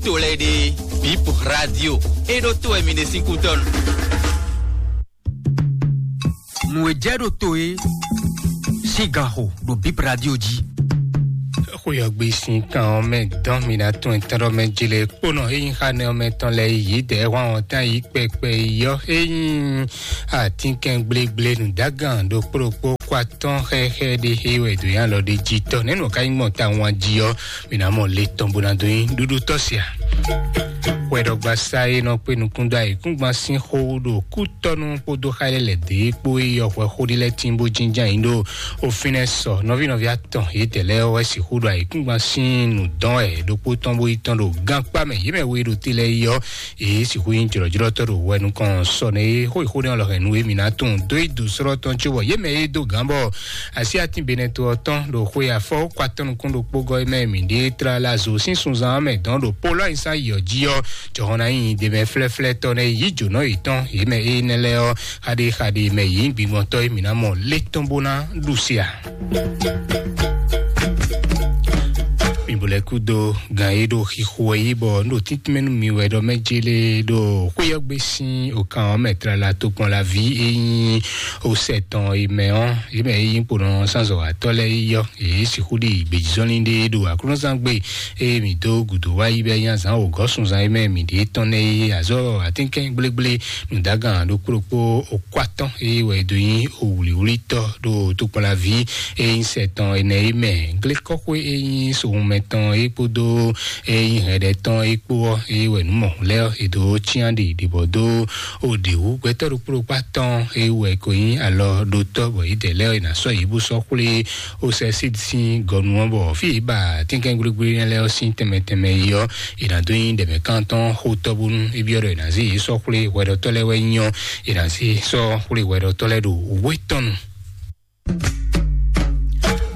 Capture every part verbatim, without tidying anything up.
to lɛ́ɛ ɖe, Bip Radio, é ɖó to wɛ mi ɖe sín kútɔ́nu. Nǔ e jɛ ɖo to é sín gan xo ɖo Bip Radio jí. Xóyɔgbe sín kan ɔ́ mɛ dɔn mi ná tún ɛtɛ́nɖɔ mɛ jele kpónɔ é nyí xá nɛ ɔ́ mɛ tɔn lɛ́ɛ yí dɛ̌ hwan ɔ́ tán yí kpɛkpɛ yɔ é nyí atínkɛn gblégblé nǔdágan ɖokpó ɖokpó kó atɔ́n xɛxɛ ɖé é wɛ dǒ nyi alɔ ɖé jí tɔ́ nɛ̌ nɔ ká nyí gbɔn ta wan jí ɔ́, mi ná mɔ le tɔn bó ná dó nyí ɖuɖu tɔ́ sia. Hwɛɖɔgbasá e nɔ kpé nukún dó ayǐkúngban sín xó ɖo kútɔ́nú kpódó xá lɛ́ lɛ̌ dě kpó é yɔ hwɛ xó ɖé lɛ́ɛ tín bó jínján yǐ ɖo òfin lɛ́ɛ sɔ nɔví nɔví atɔn yětɛn lɛ́ɛ wɛ sixú ɖo ayǐkúngban sín nǔ dɔn wɛ ɖokpó tɔn bó yi tɔn ɖo gankpá mɛ yě mɛ we ɖo te lɛ́ɛ yi ɔ́, yě sixú nyí jlɔ̌jlɔ́tɔ́ ɖo hwɛ nukɔn sɔ nɛ é xó yi xó nɛ ɔ́ lɔ hɛn nú émí ná tunwun dó yi dǒ slɔ́ tɔn cóbɔ yě mɛ e dó gǎn bɔ así atín benɛto ɔ́ tɔn ɖo xwe afɔ kó atɔn nukún ɖokpó gɔ́ mɛ mǐ ɖe tlala zo sín sunzan ɔ́ mɛ dɔn ɖo polo anyisa yɔ jí ɔ́, jɔhɔn ná nyi ɖe mɛ flɛ́flɛ́tɔ́ nɛ́ yí jǒnɔ yětɔn yě mɛ énɛ́ lɛ́ɛ ɔ́, xaɖé xaɖé mɛ yě nyí gbigbɔntɔ́ e mǐ ná mɔ lé tɔn bó ná ɖu se a. Mi bo lɛ́ kúdó gan e ɖo xixo wɛ yí bɔ un ɖo tíntímɛ nú mi wɛ ɖɔ mɛ jélé ɖo xwéyɔ́gbé sín òkan ɔ́ mɛ tlala tokpɔn la ví e nyí osɛ tɔn e mɛ ɔ́, e mɛ e nyí kponɔ sánzɔwatɔ́ lɛ́ɛ yi ɔ́, yě sixú ɖi gbějízɔ́nlin ɖé ɖo aklúnɔzán gbe e mǐ dó gǔdo wá yi bɛ́ nyí azǎn wǒgɔ́ sunzan e mɛ mǐ ɖe tɔn nɛ́ é azɔ́ atínkɛn gblégblé nǔdágan ɖokpó ɖokpó okó atɔ́n e wɛ è dó nyí owlǐwlítɔ́ ɖo tokpɔnlaví e nyí sɛ tɔn ɛnɛ é mɛ. Glékɔ́xwé e nyí sohunmɛ tɔn é kpódó e nyí hɛɖɛ tɔn é kpó ɔ́, é wɛ nǔ mɔ̌hun lɛ́ɛ ɔ́, è dǒ cyán ɖi ɖě bɔ dó o ɖě wú. Gbɛtɔ́ ɖokpó ɖokpó atɔn é wɛ ko nyí alɔ ɖotɔ́ bɔ yědɛɛ lɛ́ɛ ɔ́, è nǎ sɔ́ yě bó sɔ́ xwlé ó sɛ sín sín gɔnu ɔ́, bɔ fí e ba tínkɛ́ngblégbé lɛ́ɛ ɔ́ sín tɛnmɛ tɛnmɛ yi ɔ́, è nǎ dó nyí ɖɛ̌mɛkántɔ́ xotɔ́ bónú é byɔ́ ɖɔ è nǎ zé yě sɔ́ xwlé hwɛɖɔtɔ́ lɛ́ɛ wɛ nyí ɔ́, è nǎ zé sɔ́ xwlé hwɛɖɔtɔ́ lɛ́ɛ ɖo wětɔn nu.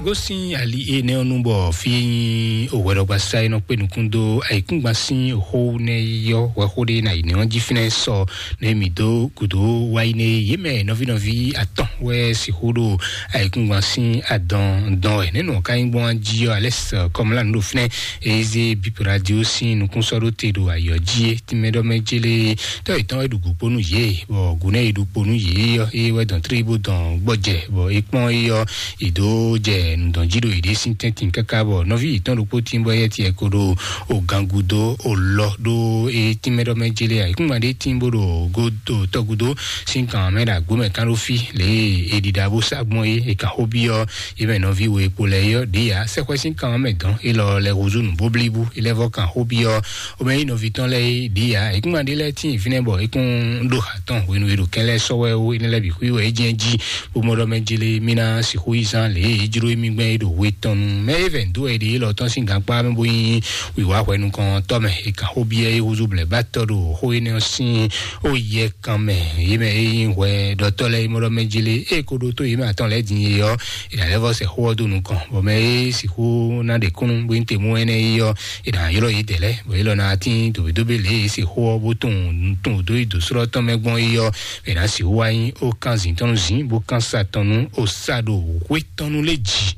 Gosín ali énɛ́ ɔ́ nu bɔ fí e nyí òhwɛɖɔgbasá e nɔ kpé nukún dó ayǐkúngban sín xó nɛ́ yi ɔ́, hwɛxó ɖé ná yi nɛ́ ɔ́ jí fínɛ́ sɔ nɛ́ mǐ dó gǔdo wá yi nɛ́ yě mɛ nɔví nɔví atɔn wɛ sixú ɖo ayǐkúngban sín adɔn dɔn wɛ. Nɛ́ nɔ ká nyí gbɔn jí ɔ́, Alɛ́s Kɔmlá nǔ ɖo fínɛ́, eye zé Bip Radio sín nukúnsɔ́ ɖó te ɖo ayǐ ɔ́ jí é. Tínmɛ ɖɔ mɛ jélé tɔ́ yětɔn wɛ ɖu gǔ kpó nú yě, bɔ gǔ nɛ́ e ɖu kpo nú yě ɔ́, é wɛ dɔn tlí bó dɔn gbɔjɛ, bɔ é kpɔ́n é ɔ́, è dǒ jɛ nǔdɔn jí ɖo yěɖée sín tɛ́ntin káká, bɔ nɔví yětɔn ɖokpó tín bɔ éyɛ́ tiɛ ko ɖo o gangudo o lɔ ɖó é tínmɛ ɖɔ mɛ jélé ayǐkúngban ɖé tín bó ɖo godo tɔgúdo sín kan mɛ ɖo agbó mɛ kán ɖó fí lě e è ɖiɖa bó sá gbɔn é, è kan xó byɔ́ é mɛ nɔví we kpo lɛ́ɛ é ɔ́, ɖě ya sɛ́xwɛ sín kan mɛ dɔn é lɔ lɛ húzú nǔ bóblíbú é lɛ́ vɔ́ kan xó byɔ́ Omɛ yi nɔví tɔn lɛ́ɛ é ɖi ya, é kún ma ɖi lɛ́ɛ tíin fínɛ́ bɔ é kún ɖo ha tɔn hwenu e ɖo kɛn lɛ́ɛ sɔ́ wɛ ó, énɛ́ lɛ́ɛ bǐ xwí wɛ é jɛ́n jí, bó mɔ ɖɔ mɛ jlé mì ná sixú yí zán lě e é jló émí gbɛn é ɖo hwe tɔn nu. Mɛ é vɛ̌ dó wɛ ɖi élɔ́ tɔn sín gankpá mɛ bó nyí wǐwá hwɛ nukɔntɔ́ mɛ, é kan xó byɔ́ é húzú blɛ̌ ba tɔ́ ɖo xó énɛ́ ɔ́ sín ó yɛ kan mɛ. Yě mɛ é nyí hwɛ ɖɔtɔ́ lɛ́ɛ é mɔ ɖɔ mɛ jlé é ko ɖótó yě mɛ atɔn lɛ́ɛ din é ɔ́, è nǎ lɛ́ vɔ́ sɛ xó ɔ́ dó nukɔn, bɔ mɛ e sixú ná ɖe kúnnu bó nyí te mú énɛ́ é ɔ́, è nǎ ylɔ́ yě dɛ̌ lɛ́ɛ, bɔ é lɔ ná tín dǒbédóbé lě e è se xó ɔ́ bó tunwun tunwun dó yi dǒslɔ́ tɔn mɛ gbɔn é ɔ́, è nǎ sixú wá nyí ó kán zǐn tɔn nú zǐn, bó kán sa tɔn nú ó sa ɖo hwé tɔn nú lé jǐ.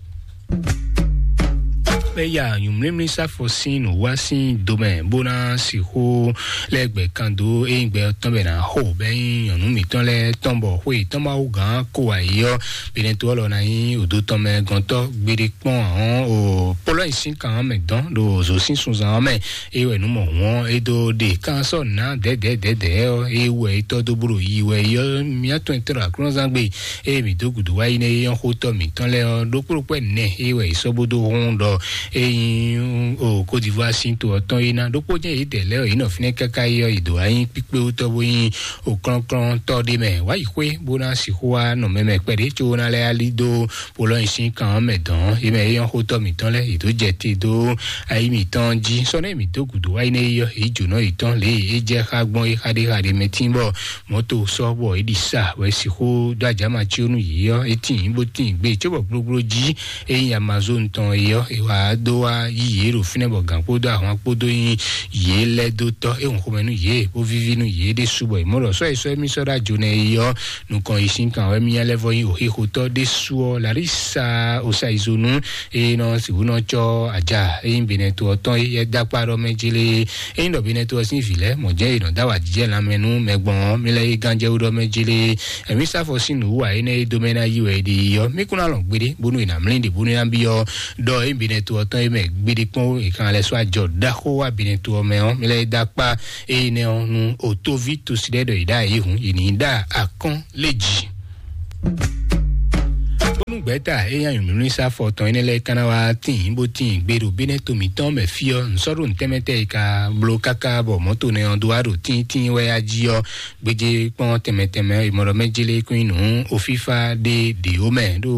Bɛ ya nyǔmlímlí sáfɔ sín nǔwá sín domɛ bó ná sixú lɛ́ gbɛ kan dó é nyí gbɛ ɔ́ tɔn bɛ ná xo bɛ nyí nyɔ̌nu mǐtɔn lɛ́ɛ tɔn bɔ xwé tɔn Mawu gǎn kó wá yi ɔ́, Benɛto ɔ́ lɔ ná nyí òdo tɔn mɛ gɔntɔ́ gbeɖé kpɔ́n ahɔn o Polɔ́yi sín kan ɔ́ mɛ dɔn ɖo zǒ sín sunzan ɔ́ mɛ, é wɛ nǔ mɔ hǔn ɔ́ é dó ɖe kan sɔ́ nǎ dɛ̌dɛ̌dɛ̌dɛ̌ ɔ́, é wɛ é tɔ́ dó bó ɖo yi wɛ é ɔ́, mía tɔn e tɔ́ ɖo aklúnɔzán gbe, ée mǐ dó gǔdo wá yi nɛ́ é nyɔ́ xótɔ́ mǐtɔn lɛ́ɛ ɔ́, ɖokpó ɖokpó ɛnɛ é wɛ è sɔ́ bó dó hún ɖɔ é nyí o Côte d'Ivoire sín to ɔ́ tɔn é ná. Ɖokpó jɛ́n yědɛɛ lɛ́ɛ ɔ́, yě nɔ fínɛ́ káká é ɔ́, yě dǒ wá nyí kpíkpéwútɔ́ bó nyí òklɔ́nklɔ́ntɔ́ ɖé mɛ wá yi xwé bó ná sixú wá nɔ mɛ mɛ kpɛɖé có ná lɛ́ ali dó Polɔ́yi sín kan ɔ́ mɛ dɔn. Yě mɛ é nyɔ́ xótɔ́ mǐtɔn lɛ́ɛ, yě dó jɛ te dó ayi mǐtɔn jí. Sɔ́ nɛ́ mǐ dó gǔdo wá yi nɛ́ é ɔ́, yě jǒnɔ yětɔn lě e é jɛ xá gbɔn é xaɖéxaɖé mɛ tín bɔ mɔ̌to sɔ́ bɔ é ɖi sa wɛ sixú dó ajǎma cí ó nú yě ɔ́, é tíin bó tíin gbé cóbɔ gblógbló jí é nyí Amazon tɔn é ɔ́, é wá dó wá yí yě ɖo fínɛ́ bɔ gǎn kpódó ahwan kpódó nyí yě lɛ́ dó tɔ́ é hɔn xomɛ nú yě bó víví nú yě ɖésú bɔ è mɔ ɖɔ sɔ́ e sɔ́ émí sɔ́ ɖó ajo nɛ é yɔ nukɔn yi sín kan wɛ mí lɛ́ vɔ nyí òxixotɔ́ ɖésú ɔ́ Larisa Osaizonu e nɔ sixú nɔ cɔ́ aja e nyí Benɛto ɔ́ tɔn é da kpá ɖɔ mɛ jélé. E nyí ɖɔ Benɛto ɔ́ sín vǐ lɛ́ɛ mɔ̌ jɛ́n è nɔ dó awǎjijɛ lanmɛ nú mɛ gbɔn ɔ́, mí lɛ́ yí gánjɛwú ɖɔ mɛ jélé. Ɛmí sáfɔ sín nǔwú ǎ énɛ́ e dó mɛ ná yí wɛ è ɖe yi ɔ́, mí kún ná lɔn gbeɖé bónú è nǎ mlí ɖě bónú ná byɔ́ ɖɔ é Benɛto ɔ́ tɔn é mɛ gbeɖé kpɔ́n é kan lɛ́ sɔ́ ajɔ ɖaxó wá Benɛto ɔ́ mɛ ɔ́, mí lɛ́ dó akpá énɛ́ ɔ́ nú otóví tosi ɖɛ́ ɖɔ è ɖó ayǐhun è nǐ ɖó akɔ́n lé jǐ. Bónú gbɛ̌ta e nyí anyǔmlímlí sá fɔ tɔn énɛ́ lɛ́ɛ ka ná wá tíin bó tíin gbé ɖo Benɛto mǐtɔn mɛ fí ɔ́, nsɔ́ɖó ntɛ́mɛtɛ́ e ka bló káká bɔ mɔ̌to nɛ ɔ́ dó wá ɖo tíntín wɛ á jí ɔ́, gbéjé kpɔ́n tɛnmɛ tɛnmɛ e mɔ ɖɔ mɛ jélé kún nyí nǔ ofífá ɖé ɖě ó mɛ ɖó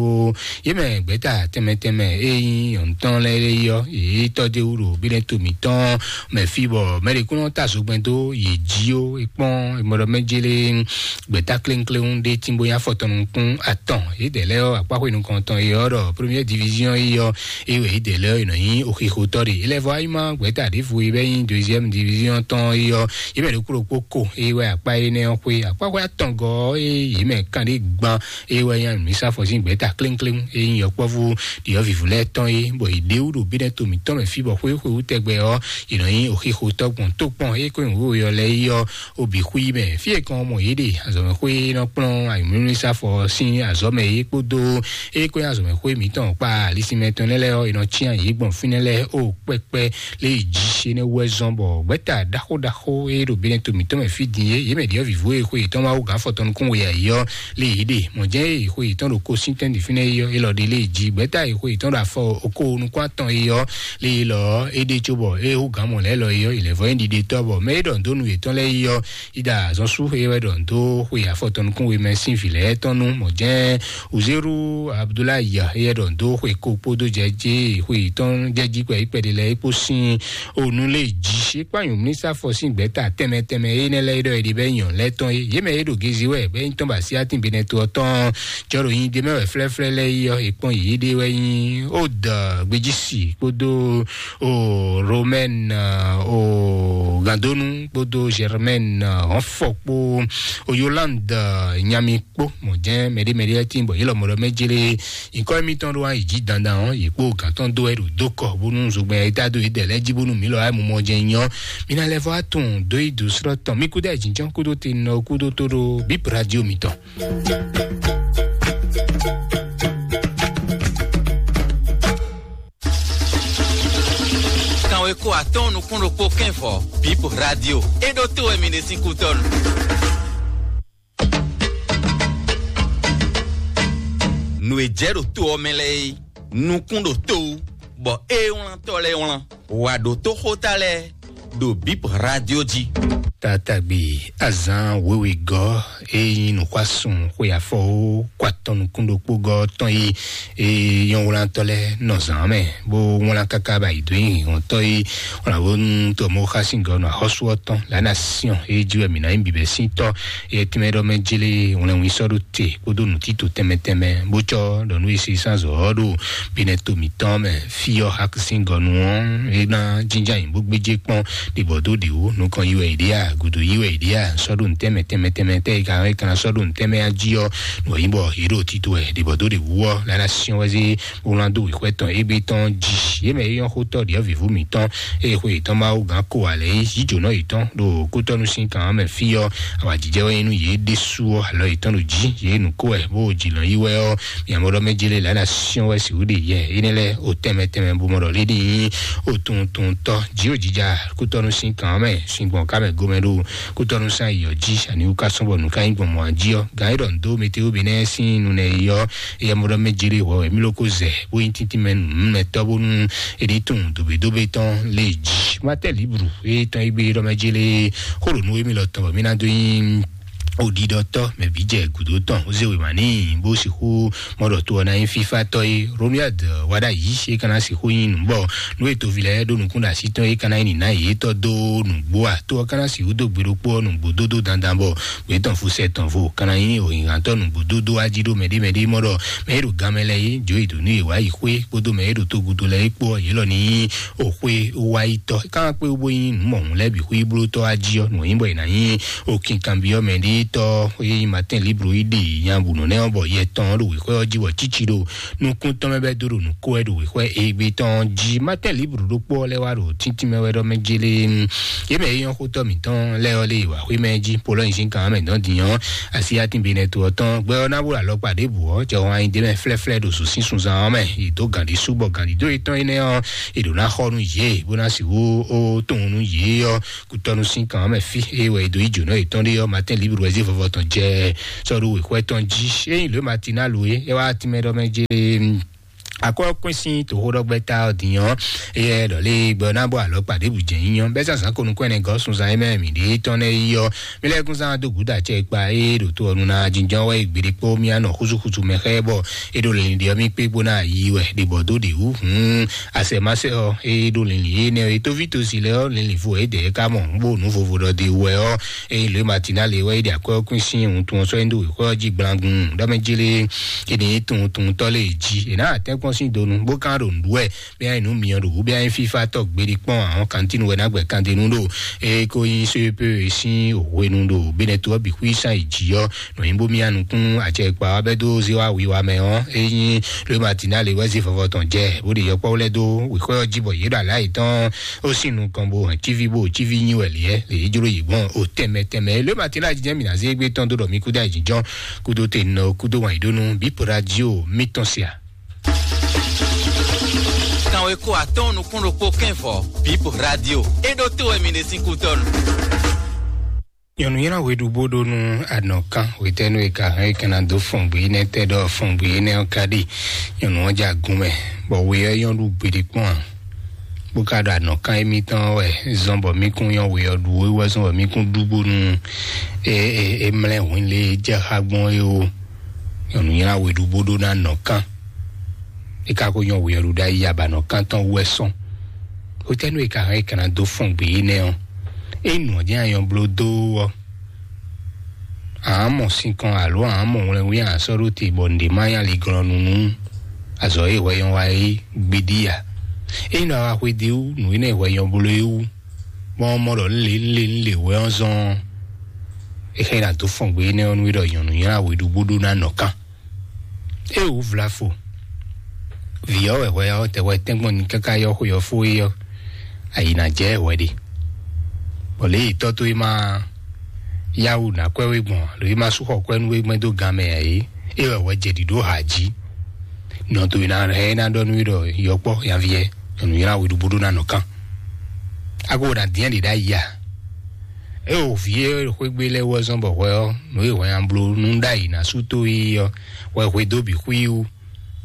yě mɛ gbɛ̌ta tɛnmɛ tɛnmɛ e nyí nyɔ̌nuntɔn lɛ́ɛ é ɔ́, yě tɔ́ d'é wú ɖo Benɛto mǐtɔn mɛ fí bɔ mɛ ɖě kún nɔ ta zogbɛ́n dó yě jí ó. É kpɔ́n e mɔ ɖɔ mɛ jélé gbɛ̌ta kléŋkléŋ ɖé tínbó nyí afɔtɔn nukún atɔn. Yědɛɛ lɛ́ɛ ɔ́, akpáxwé nukɔntɔn e ɔ́ ɖɔ première division é ɔ́, é wɛ yědɛɛ lɛ́ɛ ɔ́, è nɔ nyí oxixotɔ́ ɖe. Élève ayima gbɛ̌ta ɖěvo e bɛ́ nyí deuxième division tɔn é ɔ́, yě mɛ ɖokpó ɖokpó ko é wɛ akpá énɛ́ ɔ́ xwé. Akpáxwé atɔngɔ́ ɔ́, é yě mɛ kanɖé gban é wɛ nyí mǐsafɔ sín gbɛ̌ta kléŋkléŋ é nyí yɔkpɔ́vú ɖyɔ̌vǐvú lɛ́ɛ tɔn é, bɔ yě ɖe wú ɖo Benɛto mǐtɔn mɛ fí bɔ xwé xwé wú tɛgbɛ ɔ́, è nɔ nyí oxixotɔ́ gbɔn tó kpɔn é kó nyǐ wǒ yɔ lɛ́ɛ é ɔ́, obi xwí mɛ. Fí e kan mɔ yě ɖe azɔ̌mɛxwé e nɔ kplɔ́n ayǐmlúmlísafɔ sín azɔ̌mɛ é kpódó é kó nyí azɔ̌mɛxwé mǐtɔn kpá alisinmɛ tɔn lɛ́ɛ lɛ́ɛ ɔ́, è nɔ cyán yě gbɔn fínɛ́ lɛ́ɛ ó kpɛkpɛ lé yi jí. Énɛ́ wú wɛ zɔ́n bɔ gbɛ̌ta ɖaxó ɖaxó e ɖo Benɛto mǐtɔn mɛ fí din é, yě mɛ ɖyɔ̌vǐvú e xwe yětɔn Mawu gǎn afɔtɔn nukún we ǎ é ɔ́, lé yě ɖe. Mɔ̌ jɛ́n e xwe yětɔn ɖo kosíntɛ́n ɖi fínɛ́ é ɔ́, é lɔ ɖe lé yi jí. Gbɛ̌ta e xwe yětɔn ɖo afɔ okó nukún atɔn é ɔ́, lé yi lɔ é ɖe cóbɔ é hú gǎn mɔ lɛ́ɛ lɔ é ɔ́, è lɛ̌ vɔ nyí ɖiɖetɔ́ bɔ mɛ e ɖɔ nǔ dó nú yětɔn lɛ́ɛ é ɔ́, Ida zɔn sú xwe wɛ ɖɔ ndo xwe afɔtɔn nukún we mɛ sín vǐ lɛ́ɛ tɔn nú mɔ̌ jɛ́n Uzeru Abdulayi yɛ ɖɔ ndo xwe ko kpódó jɛ jɛ xwe tɔn jɛ jí kpɛ yi kpɛɖé lɛ́ɛ kpó sín onu lé jí. É kpá nyǔmlísafɔ sín gbɛ̌ta tɛnmɛ tɛnmɛ énɛ́ lɛ́ɛ ɖɔ è ɖi bɛ nyɔ lɛ́ɛ tɔn é. Yě mɛ é ɖo gezi wɛ bɛ nyí tɔn ba sí atin Benɛto ɔ́ tɔn jɔ ɖo nyi ɖe mɛ wɛ flɛ́flɛ́ lɛ́ɛ yi ɔ́, è kpɔ́n yě ɖe wɛ nyí ó dɔ gbejisi kpódó o Romaine o Gandonu kpódó Germaine Hɔnfɔ kpó o Yolande Nyami kpó mɔ̌ jɛ́n mɛɖé mɛɖé lɛ́ɛ tíin bɔ yě lɔ mɔ ɖɔ mɛ jélé nyǐkɔ émítɔn ɖó wá yi jí dandan ɔ́, yě kpó gǎn tɔn dó wɛ ɖo dó kɔ bónú zogbɛ́n e tá dó yě dɛ lɛ́ɛ jí bónú mǐ lɔ wá mɔ mɔ jɛ nyɔ. Mǐ ná lɛ́ vɔ wá tunwun dó yi dǒ srɔ́ tɔn mí kúdó ayǐjínjɔ́n kúdó tenɔ kúdó tó ɖó bíp radio mǐtɔn. Kanwe ko atɔ́ɔ́n nukún ɖokpó kɛ́n vɔ bíp radio é ɖó tó wɛ mi ɖe sín kútɔ́nu. Nǔ e jɛ ɖo to ɔ́ mɛ lɛ́ɛ é, nukún ɖo to wú, bɔ é wlántɔ́ lɛ́ɛ wlán. Wǎ ɖótó xóta lɛ́ɛ ɖo bíp radio jí. Tatagbe azán wěwe gɔ́ e nyí nǔxwásún xwe afɔ ó kó atɔn nukún ɖokpó gɔ́ tɔn yi e nyɔ́wlantɔ́ lɛ́ɛ nɔ zǎn mɛ bó wlán káká ba yi dó nyi hɔntɔ́ yi wlán bónú tɔmɔ xá sín gɔ́ nɔ axɔ́sú ɔ́ tɔn lǎ ná syɔ́n e jí wɛ mǐ ná nyí bǐbɛ́ sín tɔ́. Yɛ tínmɛ ɖɔ mɛ jélé wlɛnwin sɔ́ ɖó te kpódó nǔtítò tɛnmɛ tɛnmɛ bó cɔ́ ɖɔ nú e se sán zɔ̌ ɔ́ ɖo binɛ to mǐtɔn mɛ. Fí ɔ́ hakisíngɔnu ɔ́ é ná jínjɔ́n ayǐ bó gbéjé kpɔ́n ɖibɔ̌ dó ɖěwú nukɔn yi wɛ è ɖe a gǔdo yi wɛ è ɖe a sɔ́ ɖo nǔtɛ́mɛ tɛnmɛ tɛnmɛ tɛ́ e ka é ka ná sɔ́ ɖo nǔtɛ́mɛ a jí ɔ́ nǔ ɔ́ nyí bɔ yě ɖo tito wɛ ɖibɔ̌ dó ɖěwú ɔ́ lǎ ná syɔ́n wɛ zé bó ná dó wěxwɛ́ tɔn égbé tɔn jí. Yě mɛ é nyɔ́ xótɔ́ ɖyɔ̌vǐvú mǐtɔn eye xwe yětɔn Mawu gǎn ko ǎ lɛ́ɛ yí jǒnɔ yětɔn ɖo kútɔ́nú sín kan ɔ́ mɛ fí ɔ́, awǎjijɛ wɛ nyí nú yě ɖésú ɔ́, alɔ yětɔn ɖo jí, yě nǔ ko wɛ bó jǐ nɔ yí wɛ ɔ́, miamɔ ɖɔ mɛ jélé lǎ ná syɔ́n wɛ sixú ɖe yɛ énɛ́ lɛ́ɛ o tɛnmɛ tɛnmɛ bo mɔ ɖɔ lé ɖi nyí o tuntuntɔ́ jí o jija kútɔ́nú sín kan ɔ́ mɛ sin gbɔn ká mɛ gomɛ ɖo kútɔ́nú sín ayǐ ɔ́ jí, ani wú ká sɔ́ bɔ nǔ ká nyí gbɔn mɔ̌ jí ɔ́, gǎn é ɖɔ nǔ dó mɛtewóbe nɛ́ sín nu nɛ́ yi ɔ́, éyɛ́ mɔ ɖɔ mɛ jélé hwɛ wɛ mí ló kó zɛ bó nyí tíntín mɛ nǔmɛtɔ́ bónú é ɖi tunwun dǒbédóbé tɔn lé jí. Matɛ́ libru e tɔn yi gbé ɖɔ mɛ jélé xó ɖo nú émí lɔ tɔn bɔ mí ná dó nyí Oɖiɖɔtɔ́ mɛ bǐ jɛ gǔdo tɔn, ó zé wěma n'i, bó sixú mɔ ɖɔ to ɔ́ ná nyí fífátɔ́ é. Ronald Wadayi é ka ná sixú nyí nǔ bɔ nú e toví lɛ́ɛ ɖó nukún ɖo así tɔn é ka ná nyí nǐná yětɔn dó nǔgbó a? To ɔ́ ka ná sixú dó gbe ɖokpó ɔ́ nǔgbó dódó dandan bɔ gbě tɔn fusɛ tɔn vo ka ná nyí òhǐnhántɔ́ nǔgbó dódó ají ɖó mɛɖé mɛɖé mɔ ɖɔ mɛ e ɖo gan mɛ lɛ́ɛ é jó e dǒ nú yě wá yi xwé kpódó mɛ e ɖo togudo lɛ́ɛ é kpó ɔ́, yě lɔ ní nyí òxwé wáyítɔ́. É ka ná kpé wú bó nyí nǔ mɔ̌hun lɛ́ɛ bǐ xwíblótɔ́ ají ɔ́, nǔ nyí bɔ è nǎ nyí òkinkanbyɔ́ mɛ ɖé tɔ́ e nyí Martin Libro yi ɖe nya bǔ nɔ nɛ́ ɔ́, bɔ yɛ tɔn ɔ́ ɖo wěxwɛ́ ɔ́ jí bɔ cíci ɖo nukún tɔn mɛ bɛ́ dó ɖo nǔ kó wɛ ɖo wěxwɛ́ égbé tɔn jí. Martin Libro ɖokpó ɔ́ lɛ́ wá ɖo tíntín mɛ wɛ ɖɔ mɛ jélé. Yě mɛ e nyɔ́ xótɔ́ mǐtɔn lɛ́ɛ ɔ́ lé wǎ xwé mɛ jí, Polɔ́nyizín kan mɛ dɔn din ɔ́, asi atin benɛ to ɔ́ tɔn gbɛ ɔ́ ná bó alɔkpa ɖěbǔ ɔ́, jɛ hɔn anyi d'é mɛ flɛ́flɛ́ ɖo zǒ sín sunzan ɔ́ mɛ. È dǒ gǎn ɖé sú bɔ gǎn ɖídó yětɔn énɛ́ ɔ́, è ɖǒ ná xɔ nú yě, bó ná sixú ó tunwun nú yě ɔ́. Kutɔnu sín kan ɔ́ mɛ fí e wɛ è dó yi jǒnɔ yětɔn ɖé ɔ́, Martin Libre wɛ zé vɔvɔ tɔn jɛ sɔ́ ɖo wěxwɛ́ tɔn jí. Ényí lǒ Martina lo é, é wá tínmɛ ɖɔ mɛ jé. Akɔ́ kún sín toxóɖɔgbɛ́ta ɔ́ din ɔ́, éyɛ́ ɖɔ lé gbɛ ɔ́ ná bɔ alɔkpa ɖěbǔ jɛ nyínyɔ́ bɛ́ zǎnzǎn ko nukún ɛnɛ gɔ́ sunzan e mɛ mǐ ɖe tɔn lɛ́ɛ yi ɔ́. Mí lɛ́ kún zán dó gǔda acɛ kpa e ɖo to ɔ́ nu ná jínjɔ́n wɛ gběɖé kpó mí anɔ xúzúxúzú mɛ xá ɛ bɔ é ɖo lǐndí ɔ́ mí kpé bó ná yi wɛ ɖě bɔ dó ɖě wú hǔn. Asɛmasɛ ɔ́, é ɖo lǐnlǐn énɛ́ ɔ́, é tóví tosi lɛ́ɛ ɔ́, lǐnlǐn vo é dɛ é ka mɔ nǔ bó nǔ vovo ɖɔ de wɛ ɔ́, é lě Matina lě wɛ é ɖi akwɛ́ ɔ́ kún sín wuntun ɔ́ sɔ́ é ɖó wěxwɛ́ ɔ́ jí gblangun ɖɔ mɛ jí lé. É ní tunwun tunwuntɔ́ lé jí, è nǎ tɛ́nkpɔ́n sín donu bó kán ɖo nǔɖuɖu wɛ, bɛ́ nyí nǔ myɔ ɖo wǔ, bɛ́ nyí fífá tɔ́ gbéɖé kpɔ́n àwọn kantínu wɛ ná gbɛ kandenu ɖo é kó nyí sépé sín hwenu ɖo Benɛto ɔ́ bǐ xwí sán yi jǐ ɔ́. Nɔ nyí bó mía nukún acɛkpa ɔ́ bɛ́ dó zé wá wiwa mɛ ɔ́, é nyí ló Matina lě wɛ zé vɔvɔ tɔn jɛ bó ɖe yɔkpɔ́ lɛ́ dó wěxɔ́ ɔ́ jí bɔ yě ɖo alǎ yětɔn ó sín nukɔn bó hɛn cíví bó cíví nyi wɛ liɛ lě é jló yě gbɔn ó tɛnmɛ tɛnmɛ. Ló Matina jijɛ mǐ ná zé gbé tɔn dó ɖɔ mí kúdó ayǐjínjɔ́n kúdó te nɔ kúdó wǎn yí ɖó nú bípo radio mítɔn sia. Kanweko atɔn nukún ɖokpó kɛnvɔ bípo radio é ɖó tó wɛ mi ɖe sín kútɔnu. Nyɔnu nylá hweɖu bó ɖó nú anɔkan hwetɛ́nu e ka hɛn e ka ná dó fɔngbe énɛ́ tɛ́ ɖɔ fɔngbe énɛ́ ɔ́ ka ɖi nyɔnu ɔ́ ja gun mɛ, bɔ we ɔ́ nyɔ́ ɖu gbeɖé kpɔ́n ǎ. Bó ka ɖo anɔkan émítɔn ɔ́ wɛ zɔn bɔ mí kún nyɔ́ we ɔ́ ɖu é wɛ zɔn bɔ mí kún ɖu bónú é é é mlɛ́ hwǐn lě e jɛ xá gbɔn é ó. Nyɔnu nylá hweɖu bó ɖó ná anɔkan. É ka ko nyɔ́ we ɔ́ ɖu ɖ'ayǐ abanɔkan tɔn wú wɛ sɔn. Hwetɛ́nu e ka hɛn e ka ná dó fɔngbe énɛ́ ɔ́, é nǔ ɔ́ jɛ́n anyɔ bló dó ɔ́, ǎ mɔ sinkɔn alo ǎ mɔ wlɛnwí ǎ sɔ́ ɖó te bɔ nǔɖé má nyí aliglɔ́nú nú azɔ̌ e hwɛ nyɔ́ wa é gbeɖí ǎ. Ényí nɔ wa xwedó wú nǔ énɛ́ e hwɛ nyɔ́ bló é wú, bɔ mɔ ɖɔ un lě un lě un lě wɛ ɔ́ zɔ́n ɔ́, é xɛ́ ná dó fɔngbe énɛ́ ɔ́ nú é ɖɔ nyɔ̌nu nylá we ɖu bó ɖó ná nɔ kán. É wǔ vlafo. Vǐ ɔ́ wɛ hwɛ ɔ́ tɛ hwɛ tɛ́nkpɔ́n ní káká yɔ́ xwe ɔ́ fó é ɔ́, ayǐ ná jɛ hwɛ ɖe. Bɔ lě e tɔ́ towe ma yá wǔ ná kwɛ́ we gbɔn, lǒ e ma sú xɔ kwɛ́ nú we gbɛn dó gan mɛ ǎ é, é wɛ hwɛ jɛ ɖǐɖó ha jí. Nɔ towe ná hɛn é ná ɖɔ nú we ɖɔ yɔkpɔ́ nyaví ɛ, nyɔ̌nu nylá we ɖu bó ɖó ná nɔ kán. A ko ná dín ɛ́ ɖě ɖ'ayǐ a? É o vǐ e xwé gbe lɛ́ɛ wú ɔ́ zɔ́n bɔ hwɛ ɔ́, nǔ e hwɛ nya bló nú ɖ'ayǐ ná sú tó é ɔ́, hwɛ hwedó bǐ xwí wú.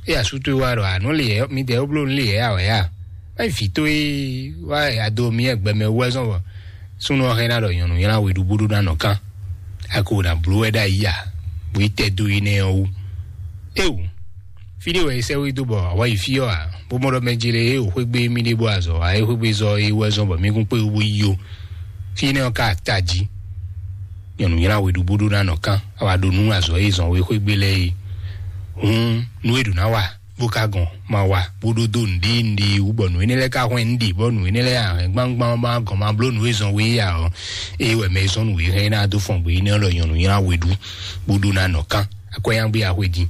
É asú towe wá ɖɔ ànú lě ɛ midɛɛ ó bló nú lě ɛ a wɛ a? Má nyí vǐ towe wá ado mi ɛgbɛ mɛ wú wɛ zɔn bɔ súnnu ɔ́ hɛn ná ɖɔ nyɔ̌nu nylá we ɖu bó ɖó ná nɔ kán. A ko ná bló wɛ ɖ'ayǐ a? Bó yi tɛ dó yi nɛ ɔ́ wú. Éwu, fí ɖé wɛ è sɛ́ we dó bɔ a wá yi fí ɔ́ a? Bó mɔ ɖɔ mɛ jele é o xwé gbé mì ɖé bó azɔ a é xwé gbé zɔ é wú wɛ zɔn bɔ mì kún kpé wú bó yi ó. Fí énɛ́ ɔ́ ka ta jí. Nyɔ̌nu nylá we ɖu bó ɖó ná nɔ kán, a wá ɖo nú azɔ̌ e zɔn we xwé gbé lɛ́ɛ é. Hǔn nú é ɖǒ ná wa bó ka gɔn ma wa bó ɖó dó nǔɖé nǔɖé wú bɔ nǔ énɛ́ lɛ́ɛ ka hwɛ́n nǔɖé bɔ nǔ énɛ́ lɛ́ɛ ahɛn gbangban ma gɔn ma bló nǔ e zɔn we ǎ ɔ́, é wɛ mɛ e zɔn nǔ e hɛn ná dó fɔn gbé énɛ́ lɔ nyɔ̌nu nylá we ɖu bó ɖó ná nɔ kán. Akwɛ́yángbe axwe din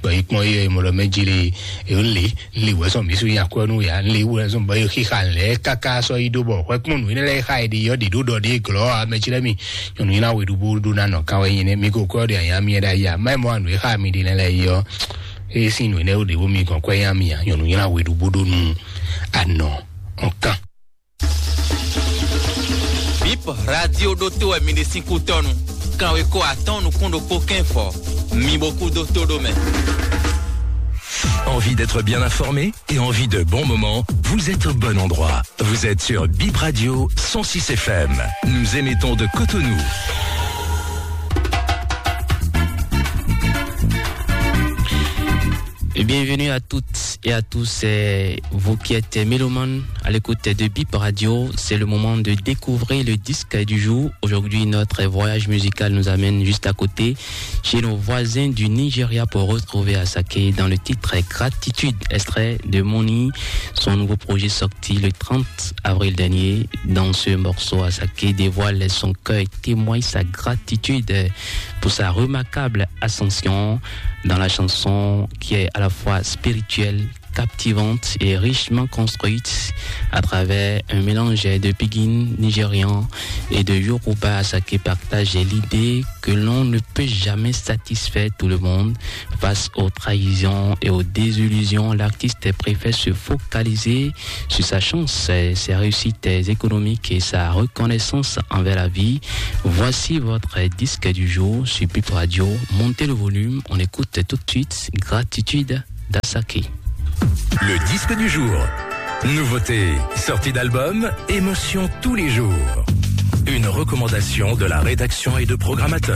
bɔ é kpɔn é mɔ ɖɔ mɛ jele é lé lé wɛ zɔn mí sú nya kwɛ nú ya lé wɛ zɔn bɔ é xixa lɛ kaka sɔ yi ɖó bɔ hwɛ kpɔn nǔ énɛ́ lɛ́ɛ xa é ɖe yɔ ɖe ɖó ɖɔ ɖe glɔ amɛ tsi lɛ mi nyɔnu nylá we ɖu bó ɖó ná nɔ kan wɛ nyi nɛ mi ko kwɛ ɖe anya mi ɖe ayi a mɛ mɔ anu é xa mi ɖe nɛ lɛ yi ɔ é sin nǔ énɛ́ ɖe bó mi gɔn kwɛ nya mi a nyɔnu nylá we ɖu bó ɖó nu anɔ ɔn kan. Bip radio ɖótó wɛ mi ɖe sín kútɔnu. Kanweko atɔn nukún ɖokpó kɛn fɔ. Mi bo kú dó tó ɖó mɛ. Envie d'être bien informé et envie de bons moments, vous êtes au bon endroit. Vous êtes sur Bip Radio cent six F M. Nous émettons de Cotonou. Bienvenue à toutes et à tous, euh, vous qui êtes mélomanes à l'écoute de Bip Radio. C'est le moment de découvrir le disque du jour. Aujourd'hui, notre voyage musical nous amène juste à côté, chez nos voisins du Nigeria, pour retrouver Asake dans le titre Gratitude, extrait de Moni, son nouveau projet sorti le trente avril dernier. Dans ce morceau, Asake dévoile son cœur et témoigne sa gratitude pour sa remarquable ascension dans la chanson qui est à la fois spirituelle, captivante et richement construite à travers un mélange de pidgin nigérian et de Yoruba. Asake partage l'idée que l'on ne peut jamais satisfaire tout le monde. Face aux trahisons et aux désillusions, l'artiste préfère se focaliser sur sa chance, ses réussites économiques et sa reconnaissance envers la vie. Voici votre disque du jour sur Bip Radio. Montez le volume, on écoute tout de suite Gratitude d'Asake. Le disque du jour. Nouveauté, sortie d'album, émotion tous les jours. Une recommandation de la rédaction et de programmateurs.